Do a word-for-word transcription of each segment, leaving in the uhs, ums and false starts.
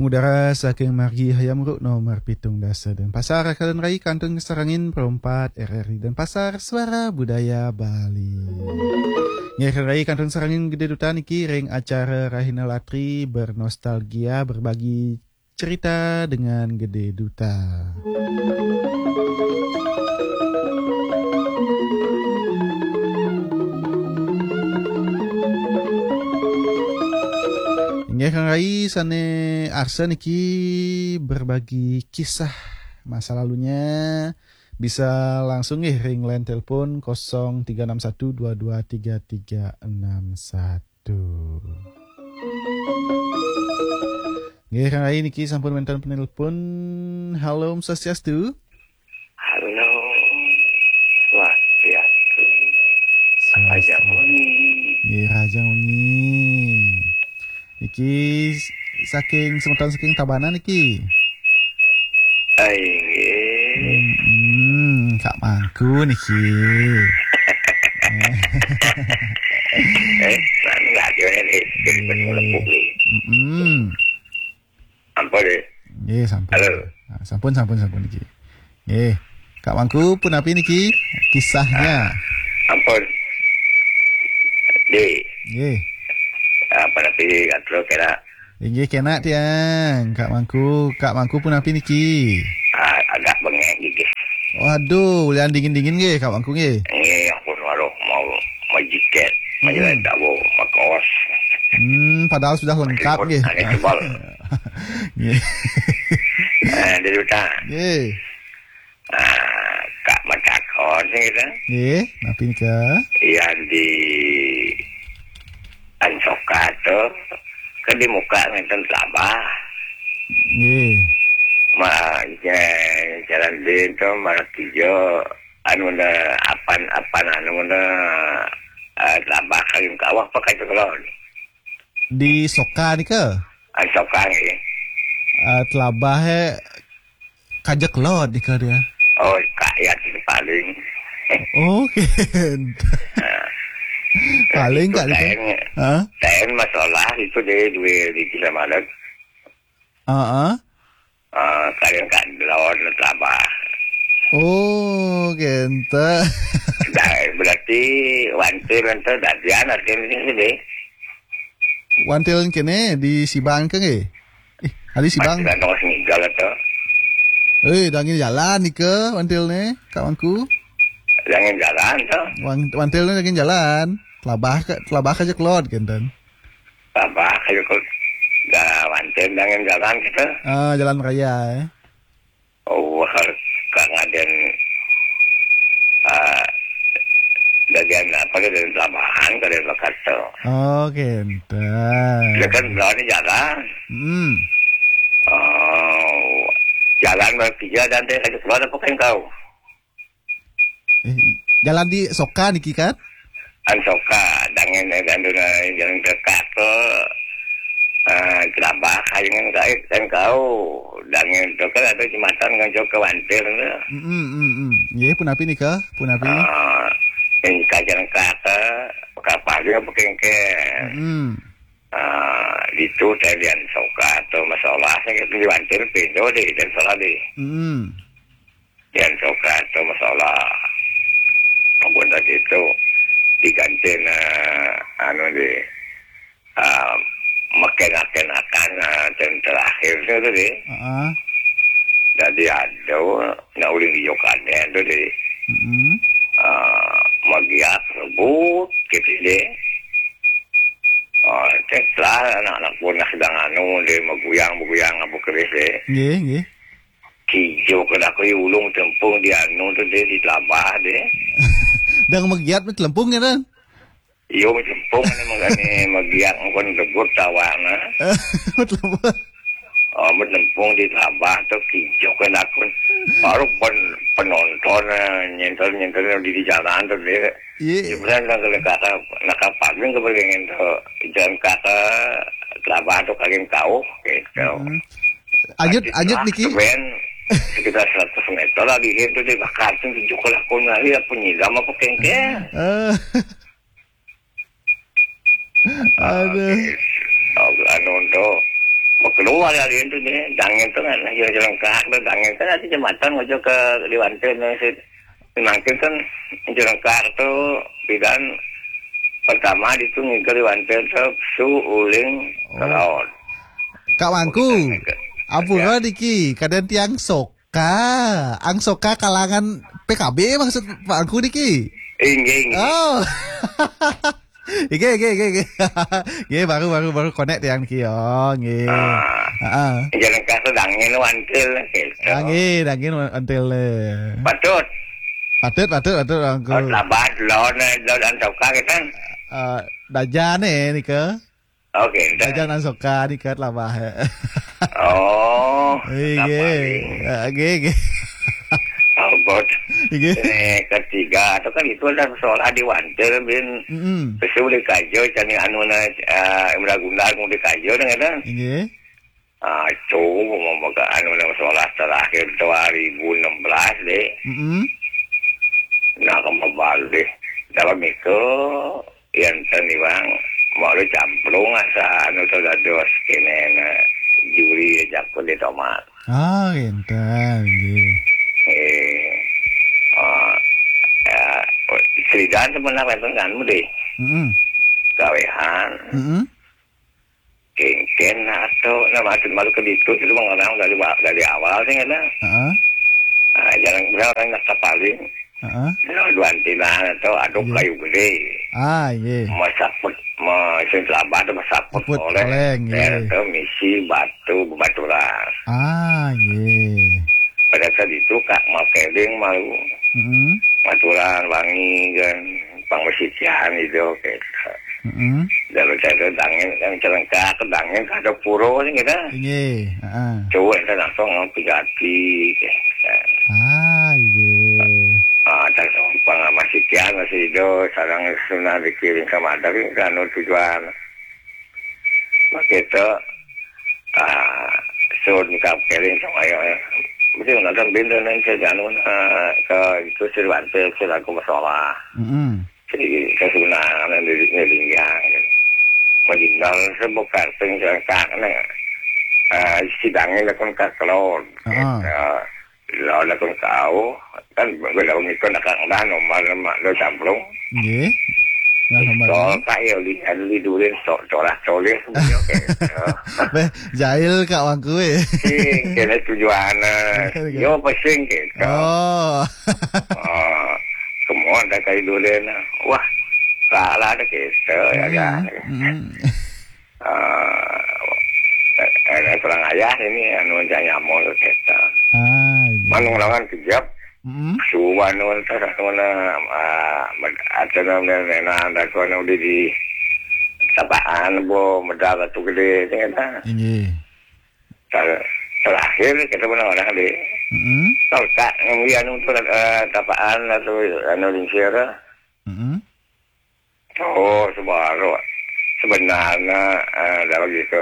Udara saking margi Hayam Wuruk nomor pitung dasa Denpasar, Kalian Rai kantun sarengin perempat R R I Denpasar, Suara Budaya Bali. Nggih, Kalian Rai kantun sarengin Gede Duta niki ring acara Rahina Latri, bernostalgia, berbagi cerita dengan Gede Duta. Inggih, Kang Rai, sane arsa niki berbagi kisah masa lalunya, bisa langsung nggih ring line telepon kosong tiga enam satu dua dua tiga tiga enam satu. Nggih, Kang Rai, niki sampun wenten penelpon. Halo, Om Swastiastu. Halo, Swastiastu. Swastiastu. Raja Muni. Nggih, Raja Muni. Niki s-, saking semeton saking Tabanan niki. Ah, inggih. Hmm, Kak Mangku niki. Eh, mana radio ni? Jadi, hmm, melepuh ni. Hmm. Ampun, eh. Nggih, sampun. Halo. Ah, sampun, sampun, sampun niki. Nggih. Kak Mangku, punapi niki kisahnya? Ah, ampun. Di. Nggih. Ah, punapi, atur kena. Inggih, kena tiang. Kak Mangku, Kak Mangku punapi niki? Ah, agak bengek gigih. Waduh, ulian dingin-dingin nggih, Kak Mangku nggih. Nggih, ampun, waduh, mau, mau jiket, mau, hmm, jalan jauh, mau kaos. Hmm, padahal sudah lengkap nggih. Angin tebal. Nggih. Eh, dia utang. Nggih. Ah, Kak matakon sih kita. Nggih, napi nika? Yang di Ansoka tu, kan di muka ngenten telabah. Nggih. Ma, ja-, jalan din tu, mana tiga, anu na, apan, apan anu na, ah, telabah kayun kawah pakai tu kalau ni. Di Soka nika? Ah, Soka nggih. Ah, telabah, eh, Kajak lot nika dia. Oh, kayat itu paling. Oh, kenten. Paling itu Kak nika. Taen, ha? Taen masalah itu dia dua di Kila Malang. Heeh. Ah, kalian kan lawan telabah. Oh, kenten. Dah, berarti wantil ente dadian artinya ini deh. Wantil kene di Sibang ke nggih? Ih, adi Sibang. Masih gantong singgah tu. Eh, dangin jalan nika wantil ne, Kak Mangku. Dangin jalan tu. Wan-, wantil ne dangin jalan. Telabah ke, telabah ke je kelod kenten. Telabah ke je kelod. Dah wantil dangin jalan kita. Ah, jalan raya, eh. Oh, harus Kang Aden, ah, bagian apa dia dari Labahan, dari Jakarta. Oh, kenten. Dia kan berani jalan. Hmm. Oh, jalan bertiga dan dia ada keluar apa kan kau? Eh, jalan di Soka niki kan? An Soka, dangen, eh, dandu na jalan dekat tu, eh, Kelabah, kayangan kait dan kau. Dangen tu kan ada jembatan ngan jauh ke Wantir tu. Hmm, hmm, hmm. Nggih, punapi nika? Punapi? Ah, yang kajian kata, kapal dia pakai ke. Hmm. Ah, itu saya di Ansoka tu masalah saya di Wantir pintu di dan salah di. Hmm. Di Ansoka tu masalah. Ampun tadi tu diganti na anu di, ah, makin-makin akan, ah, dan terakhir tu tadi. Heeh. Jadi ada nak uling di Yokaden tu di. Mm-mm. Ah, magiak sebut gitu deh. Ah, setelah anak-anak pun nak sedang anu deh, maguyang-maguyang apa keris deh. Nggih, nggih. Kijo kena aku ulung tempung di anu tu deh, di Telabah deh. Dang magiat mit lempung ya, Dan? Iyo, mit lempung ni mangane magiat pun debut tawana. Mit lempung. Oh, mit lempung di Telabah tu kijo kena aku. Baru pen-, penonton, eh, nyentel-nyentel di, di jalan tu deh. Iya. Sebenarnya nak kata, nak kapal ke pengen tu jalan kata Telabah tu kagin kau gitu. Mm-mm. Anyut, anyut niki. Sekitar seratus meter lah di situ dibakar tu tujuh kelakon hari apa nyiram apa kengkeng. Eh. Aduh. Anu tu, maka Lu ari-ari itu deh, Dangin tuh kan, ya, Jelengkak tuh, Dangin kan ada jembatan menuju ke Liwanten, ya, si, mangkin kan Jelengkak tuh, pidan pertama di tuh ngigel Liwanten tuh, su uling ke Oh. laut. Kak Mangku, Bukan ke-, ampura ya. Niki, kadén tiang soka. Ang soka kalangan P K B maksud Pak Angku niki. Inggih, inggih. Oh. Nggih, nggih, nggih, nggih. Nggih, baru, baru, baru connect tiang niki, oh, nggih. Ah. Heeh. Jelengkak tuh Dangin Wantil, gitu. Ah, nggih, Dangin Wantil, eh. Patut. Patut, patut, patut, Angku. Oh, labat, lawan, eh, lawan Ansoka, gitu kan? Eh, Dajan, eh, nika. Oke, dah. Dajan Ansoka, nika labah, eh. Oh, Nggih, nggih. Paling. Eh, nggih, nggih. Ampun. Nggih. Ini ketiga, itu kan itu ada sekolah di Wantil, bin. Mm-mm. Terus udah kajo, cani anu na, eh, Imra Gundar, udah kajo, dah, kan? Nggih. Ah, itu, mau maka anu na sekolah terakhir dua ribu enam belas, deh. Mm-mm. Nah, kembali. Dalam itu, enten iwang, mau lu camplung asa anu tuh dados kene na juri jaku di tomat. Ah, enten, nggih. Eh, ah, ya, Sridan sebenarnya enten kan, deh. Mm-mm. Gawehan. Mm-mm. Kengken atau, nah, maksud malu ke ditu, itu mengenal dari wa-, dari awal sih, kan? Heeh. Ah, jarang, jarang nak paling. Heeh. Nah, dua antinan atau aduk Iya. kayu gede. Ah, iya. Masaput, ma-, sing labah tu masaput Saput oleh oleng, iya. Daerah tu misi batu, bebaturan. Ah, iya. Pada saat itu, Kak, mau keling, mau Mm-mm. baturan, wangi, kan. Pang masitian itu, gitu. Mm-mm. Lalu saya tu dangin, yang celengkak, dangin, ada puro ni, gitu. Iya, heeh. Cowok tu langsung pigati, gitu. Ah, iya. Ah, tak pang masitian, masih hidup, sarang sunah dikirim ke Madang, kan, tujuan. Begitu, ah, sun ka keling sama ya. Mesti nonton bintang dan saya jangan, ah, ke itu Sirwante, selaku masalah. Mm-mm. Jadi, kesunangan yang di, di Linggang. Meninggal sebuah karteng jangkang, nah. Ah, sidangnya lakon kakelon. Ah. Gitu. Lawan aku kau, kan, gue lawan itu nak kang dah nomor nama lo camplung. Nggih. Nah, nomor Pistol, ini. Pak, ya, li, li durin, so-, colah, colir, gitu. Beh, jahil, Kak Wangku, eh. Sing, kena tujuan, eh, Iya, iya. Yo, pesing, gitu. Oh. Oh, semua ada kayu durin. Wah, salah ada gitu, ya, Hmm, kan? Hmm. Ah, eh, eh, kurang ayah ini, anu, cak nyamuk tu, kita. Ah, iya. Manung lawan kejap, Mm-mm. suwan, anu, entah, anu, na, ah, med-, ada nama nena, ada tu, anu, di, di, tapaan, bo, medal tu gede, tu, kita. Iya. Ter-, terakhir, kita pernah orang di, Mm-mm. tolkak, yang dia, anu, tu, eh, tapaan, atau, anu, lingsir. Mm-mm. Oh, sebaru. Sebenarnya, eh, dah begitu.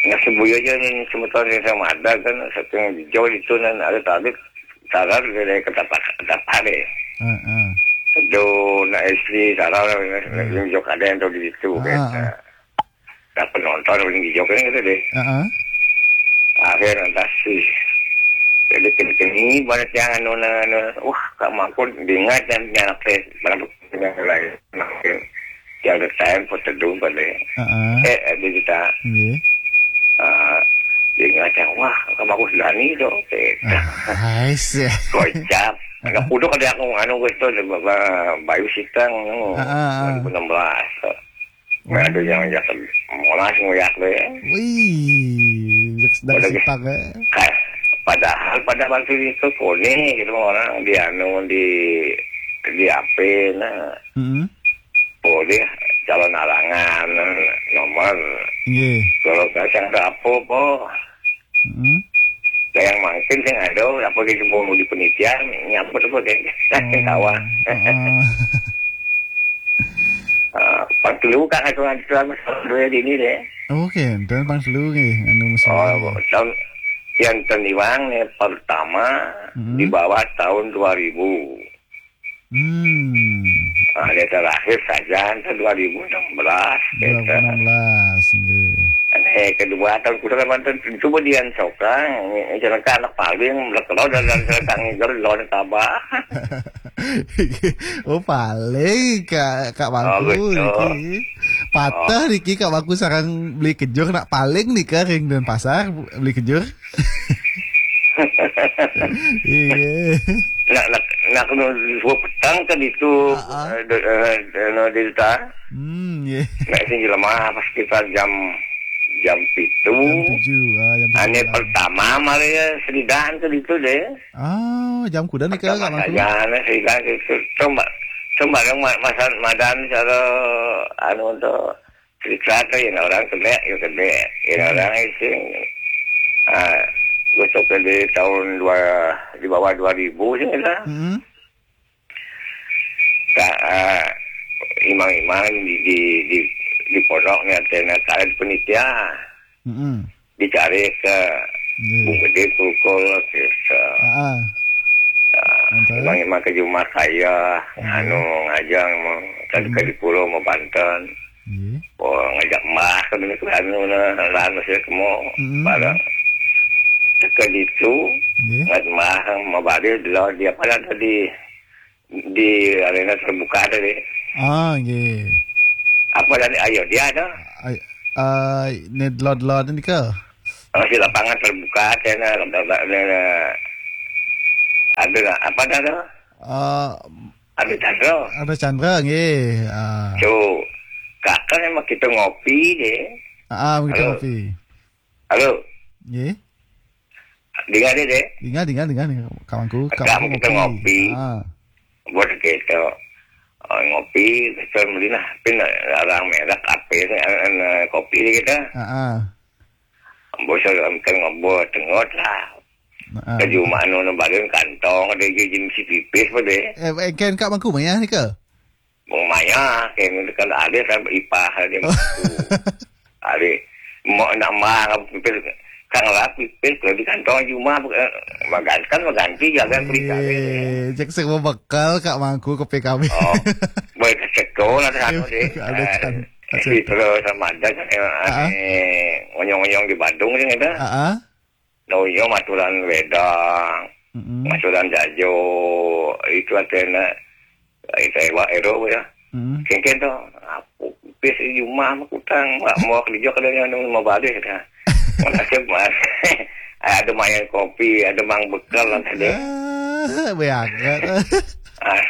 Nah, sebuya aja ni, semeton ni sama ada kan, satu yang hijau itu, nan ada tadi, tarar dari ketapak, ketapak deh. Heeh. Itu, nak istri, tarar, nak, nak Hmm. tunjuk ada yang tahu di situ, Ah, kata. Ah. Dah penonton, paling hijau kan, kata deh. Heeh. Akhir, entah sih. Jadi, kini-kini, banyak yang anu, anu, anu. Wah, Kak Mangkun, diingat dan nyanak teh. Mana yang lain. Makin. Yang ada time, pun teduh, balik. Heeh. Eh, eh, dia cerita. Nggih. Ah, dia ingat yang, wah, Kak Mangkun Sudani tu. Eh. Ah, I see. Kocap. Heeh. Agak puduk ada aku, anu, gue tu, ada ba-, ba-, Bayu Sitang, anu, Heeh, heeh. dua ribu enam belas. Nah, ada yang, hmm, yang molas ngoyak tu, ya. Wih, jak sedang Padahal sepak, ya. Ka-, padahal pada waktu itu kone gitu orang di anu, di, di A P, nah. Mm-mm. Boleh calon alangan, nomor. Nggih. Kalau tak ada apa, po. Mm-mm. Lah yang mangkin sing ada, apa gitu, mau di penitian, nyambut apa deh. Oh, kawan. Heeh. Ah, pang telu kan aku ngaji tuan masalah dua ini deh. Oke, dan pang telu nggih, anu, masalah. Oh, tahun yang teniwang nih pertama Mm-mm. di bawah tahun dua ribu. Hmm. Ah, dia terakhir saja, itu dua ribu enam belas, gitu. Dua ribu enam belas, nggih. Ane kedua tahun kuda kan mantan, coba dia sokang, celaka anak paling, belak lo dan, dan celaka ngiger lo dan tabah. Oh, paling Kak, Kak Mangku, betul. Niki. Patah niki Kak Mangku sareng beli kejur, nak paling nih ke ring Denpasar beli kejur. Iya. Nak, nak, nak kena dua petang kan itu, Ah, ah. eh, de-, eh, de-, no, Delta. Hmm, iya. Nak sing jelema pas sekitar jam, jam pitu. Jam tujuh, ah, jam tujuh Ane malam. Pertama malah ya seridan ke itu deh. Ah, jam kuda nih, Kak, Pertama Kak Mangku? Saja, ane seridan ke itu. Coba, coba yang ma-, masa madan cara anu untuk cerita tuh, yang orang kena, ya kena. Yang Hmm. orang itu, ah, besok ke di tahun dua, di bawah dua ribu sih kita. Hmm. Ka-, ah, imang-imang di, di, di, di pondok nih, artinya, ka-, di penitia. Mm-mm. Dicari ke Iya. Bung Gede Kulkul, ke, ke, Ah, ah. ah, Mantap. Imang-imang ke jumah saya, Iya. Anu, ngajang, mau, tadi Mm. ke di pulau, mau Banten. Iya. Oh, ngajak mbah ke dulu ke anu, nah, anu saya ke mau, Mm-mm. bareng. Ke ditu, Iya. Ngat mbah, mau balik, di, di apa tadi? Di arena terbuka tadi. Ah, nggih. Apa tadi? Ayo, dia ada. Ay-, eh, ini lot-lot ini ke? Oh, si lapangan terbuka, saya nak, ada, ada, ada, ada, apa dah tu? Eh, Ada Chandra. Ada Chandra, nggih. Ah. Tu, kakak memang kita ngopi je. Ah, ah, kita Halo. Ngopi. Halo. Nggih. Dengar dia, deh. Dengar, dengar, dengar, dengar. Kawanku, Kakak kawanku kita ngopi. Ngopi. Ah. Buat kita, oh, ngopi, kita beli lah. Pin orang merek apa ni, eh, eh, kopi ni kita. Ah, ah. Bos kan ngobrol tengok lah. Ah, ah. Ke jumah anu, anu baru kantong, ada je jenis pipis pun deh. Eh, eh, kan Kak Mangku maya ni ke? Maya, kan, kan ada kan ipah ada Oh. Mangku. Ada. Mau nak mah pipis, kan lah pipis kalau di kantong jumah, eh, maganti kan maganti, jalan beli kami. Eh, cek semua bekal Kak Mangku ke P K B. Oh, boleh ke sekolah, ada anu deh. Ada Eh, can-, ada si can-, terus sama ada kan, eh, Ah. eh, ngonyong-ngonyong di Badung sih, gitu. Ah, ah. Ngonyong aturan wedang, Mm-mm. aturan jajo, itu artinya, itu ewa, ero, ya. Mm. Kengken tu, apa, pis di rumah, mah kutang, mak, mau kerja, kadang anu, mau balik, dah. Mana siap, mas? Ada mayan kopi, ada mang bekal lah tadi. Ah, beangat. Ah,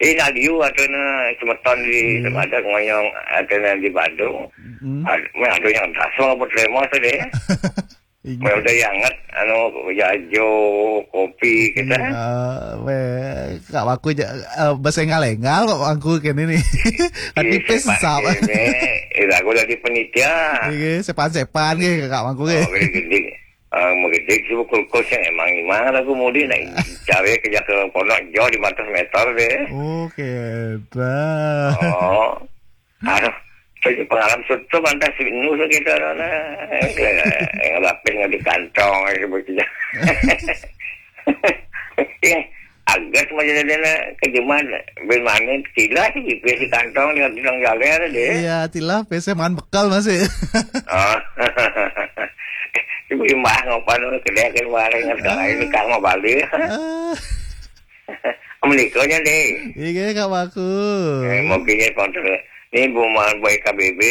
ini nak liu atau na semeton di Hmm. Temada ngonyong atau na di Badung. Hmm. Ada, ada yang dasar apa terima tu deh. Iya. Mau udah yang anget, anu, jajo, kopi, kita. Ah, weh, Kak Mangku ja-, eh, bahasa engal-engal Kak Mangku kene ni. Tapi Iya, pes sepan sap. Ini, eh, lagu dari penitia. Iya, sepan-sepan ke Kak Mangku ke. Oh, gede-gede. Ah, mau gede sih kulkus yang emang gimana lagu mau di, nah, cari kerja ke pondok jauh lima ratus meter deh. Oh, kita. Oh. Aduh, saya pengalaman suatu mantas nu kita lah. Yang lapis nggak di kantong aja begitu. Ya, agak macam dia nak kejeman, bin mana, tilah sih, di kantong, dia bilang jalan deh. Iya, tilah, biasa makan bekal masih. Oh. Ibu imbah ngopan, kedai kan bareng, Ah. Ini kang mau balik. Ah. Menikahnya deh. Iya, Kak Mangku. Eh, mungkinnya konter. Ini Bu Mal Boy K B B,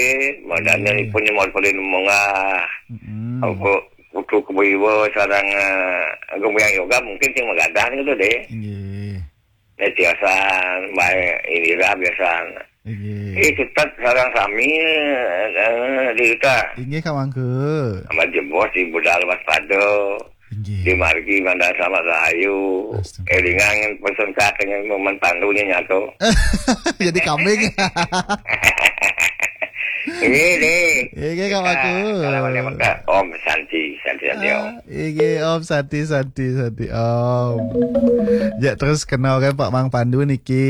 mau Hmm. Daniel pun mau beli munggah. Hmm. Aku kutu ke Boy Iwo, sarang, eh, aku yang yoga mungkin sing magadah gitu deh. Iya. Ini biasa, baik, ini lah biasa. Iya. Eh, kita sarang sami, eh, di kita. Inggih, Kak Mangku. Sama jebos di budal waspada. Inggih. Di margi Bandar Selamat Rahayu. Astaga. Eh, dengan pesan kakaknya Paman Pandu ni nyatu. Jadi kambing. Ini deh. Inggih, Kak Mangku. Kalau boleh maka Om Santi, Santi, Santi, Om. Ah, inggih, Om Santi, Santi, Santi, Om. Ya, terus kenal kan Pak Mang Pandu niki.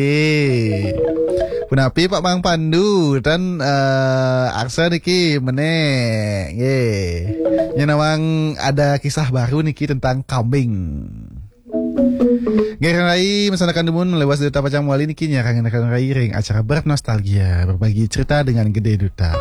Punapi Pak Mang Pandu dan, eh, Arsa niki meneh. Nggih. Nya nawang ada kisah baru niki tentang kambing. Nggih, Rai, masanakan dumun melewas Duta Pacang Wali niki nyarang rai ring acara Bernostalgia, berbagi cerita dengan Gede Duta.